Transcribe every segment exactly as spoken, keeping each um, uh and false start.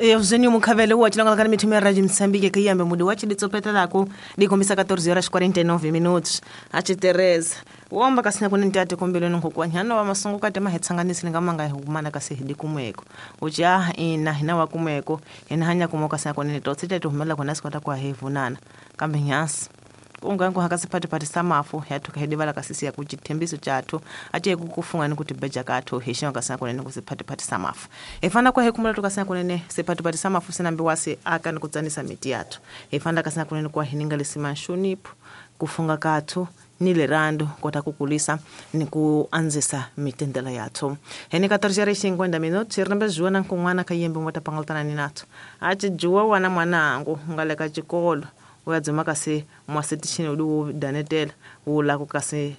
Eugenio Mukhavele wa tshilonga kana mithumo ya Radio Mozambique ke yambe mudi wa tshilitsopetelaku dikombisa catorze horas quarenta e nove minutos a tshi Teresa womba kasina kuni ntate kombelweni nkokwanyana wa masungu kate mahetsanganisi nga humana kasi hidi kumweko uja ina hina wa kumweko hina hanya kumoka kasina kuni totsi tetu humela kona sikwata kwa hevunana kambe nyasi ungango hakasiphatiphathi samafu yathu kahedivala kasisi ya kuchithembiso chathu ache kukufunga ni kuti beja kathu hexinga kasina kunene kusiphatiphathi samafu efana kwa hekumula tukasina kunene siphatiphathi samafu sinambiwasi aka ni kutsanisa miti yathu efana kasina kunene kwa hininga lisima nxonipho kufunga kathu ni lerando kota kukulisa ni kuanzisa mitendela yathu hene catorze horas e cinquenta minutos rimbe juwa na nkun'wana ka yembe mota pangaltana ni nathu achi juwa wana mwanangu ngale ka xikolo uyadzima kasi mwasitishini udi wo danetela ula ku kasi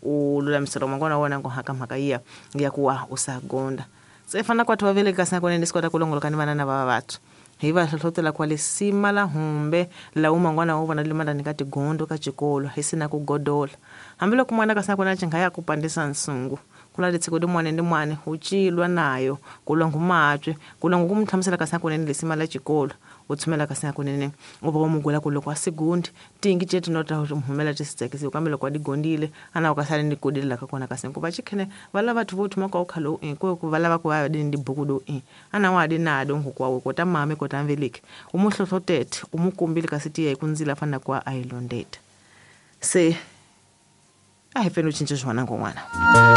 u lulamisela mangwana wona ngo haka mhaka iya ya kuwa usagonda se fana kwathu vavele kasi na kone ndisikota kulongoloka ni vanana va vathu hi va hlohlotela kwa lesima la humbe la umangwana wa vona limandani ka tigondo ka xikolo hi sina ku godola hambiloko mwana kasi na kona chinga ya ku pandisa nsungu kula letsiko di mwana ndi mwana u cilwa nayo kulwa ngumatswe kulwa ngukumtlhamusela kasi na kunene lesima la xikolo u tshumela kasi na kunene u va mugula ku loko a segundi tingi tete no ta humela tisitsekisi kambe loko a digondile ana u ka sale ni kodile ka kona kasi ku va chikhene va lava batho vo thoma ka u khalo i ku ku va lava ku va di ndi buku do i ana wa di na do ngukwa we kota mame kota mveleke u mu hlohlotete u mu kombile kasi tiya hi ku ndzila fana kwa a yi londeta se a hi feni u cinca xona ngon'wana.